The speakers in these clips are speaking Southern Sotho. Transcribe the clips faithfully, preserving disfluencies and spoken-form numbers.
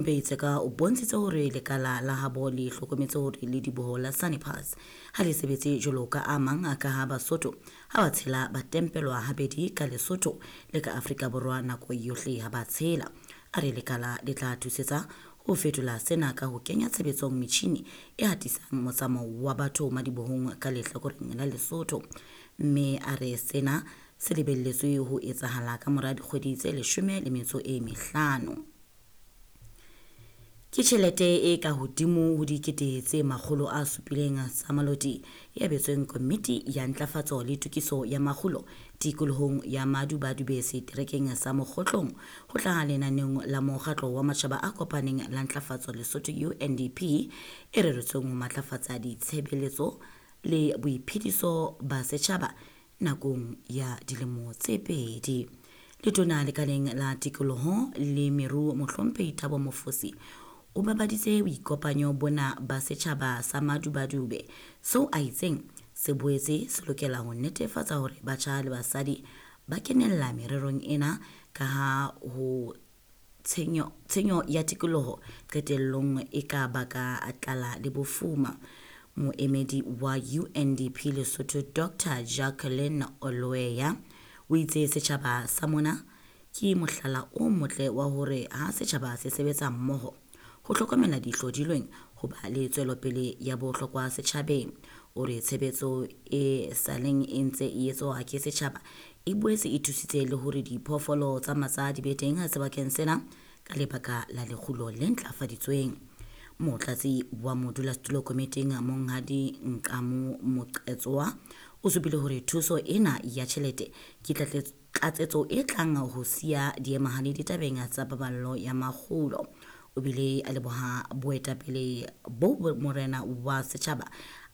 Tseka o bontshitse hore lekala la habo le hlokometse hore lediboho la Sani Pass ha le sebetse jwalo ka a mang ka ha Basotho ha ba tshela ba tempelwa habedi ka Lesotho le ka Afrika Borwa nako yohle ha ba tshela. A re lekala le tla thusetsa ho fetola sena ka ho kenya tshebetsong metjhini e hatisang motsamao wa batho madibohong ka lehlakoreng la Lesotho, mme a re sena se lebelletswe ho etsahala ka mora dikgwedi tse leshome le metso e mehlano. Ke tjhelete e ka hodimo ho dikete tse makgolo a supileng tsa Maloti e abetsweng Komiti ya Ntlafatso le Tokiso ya Makgulo tikolohong ya Madubadube seterekeng sa Mokhotlong ho tla lenaneong la Mokgatlo wa Matjhaba a Kopaneng la Ntlafatso Lesotho U N D P e reretsweng ho matlafatsa ditshebeletso le boiphediso ba setjhaba nakong ya dilemo tse pedi. Letona lekaleng la tikoloho le meruo Mohlomphehi Thabo Mofosi o babaditse boikopanyo bona ba setjhaba sa Madubadube seo a itseng se boetse se lokela ho netefatsa hore batjha le basadi ba kenella mererong ena ka ha ho tshenyo, tshenyo ya tikoloho qetellong e ka baka tlala le bofuma. Moemedi wa U N D P Lesotho Doctor Jacqueline Oloeya o itse setjhaba sa mona ke mohlala o motle wa hore ha setjhaba se sebetsa mmoho ho hlokomela dihlodilweng ho ba le tswelopele ya bohlokwa setjhabeng. O re tshebetso e saleng e ntse e etswa ke setjhaba e boetse e thusitse le hore diphoofolo tsa matsa di be teng sebakeng sena ka lebaka la lekgulo le ntlafaditsweng. Motlatsi wa modulasetulo komiting Monghadi Nqamu Moqetsoa o supile hore thuso ena ya tjhelete ke tlatsetso e tlang ho siya diemahale ditabeng tsa paballo ya makgulo. O bile a leboha boetapele bo morena wa setjhaba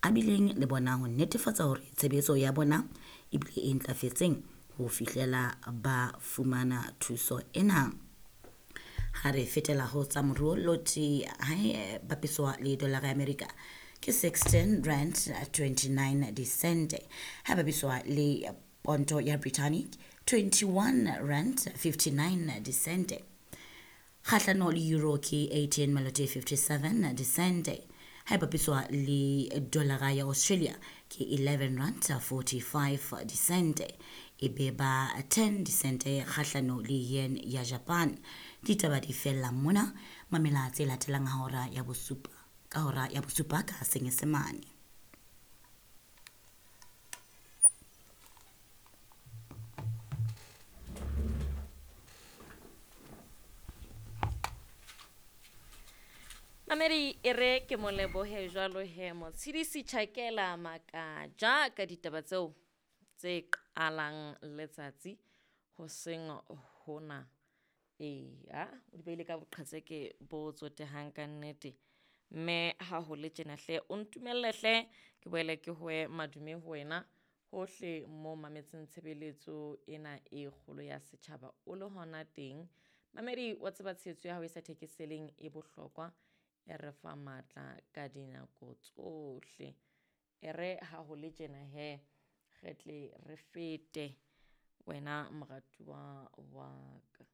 a bileng le bona ho netefatsa hore tshebetso ya bona e bile e ntlafetseng ho fihlela ba fumana thuso ena. Ha re fetela ho tsa moruo, loti ha e bapiswa le dollar ya Amerika ke sixteen rand twenty-nine disente, ha bapiswa le ponto ya Britannic twenty-one rand fifty-nine disente. Kgahlano le euro ke eighteen maloti fifty-seven disente, ha bapiswa le dollar ya Australia ke eleven rand forty-five disente, e be ba ten disente kgahlano le yen ya Japan. Ditaba di fella mona, mamela tse latelang hora ya bosupa ka hora ya bosupa ka Senyesemane. Mamedi e re ke mo lebohe jwalo he Motshidisi Tjhakela Makaja ka ditaba tseo tse qalang letsatsi hoseng hona. Eya, o di beile ka boqhetseke bo tsotehang ka nnete. Mme ha ho le tjena hle, o ntumelle hle ke boele ke hoe madume ho wena hohle mo mametseng tshebeletso ena e kgolo ya setjhaba o le hona teng. Mamedi wa tseba tshehetso ya hao e sa thekeseleng e bohlokwa, e re fa matla ka dinako tsohle. E re ha ho le tjena he, re tle re fete wena moratuwa wa ka.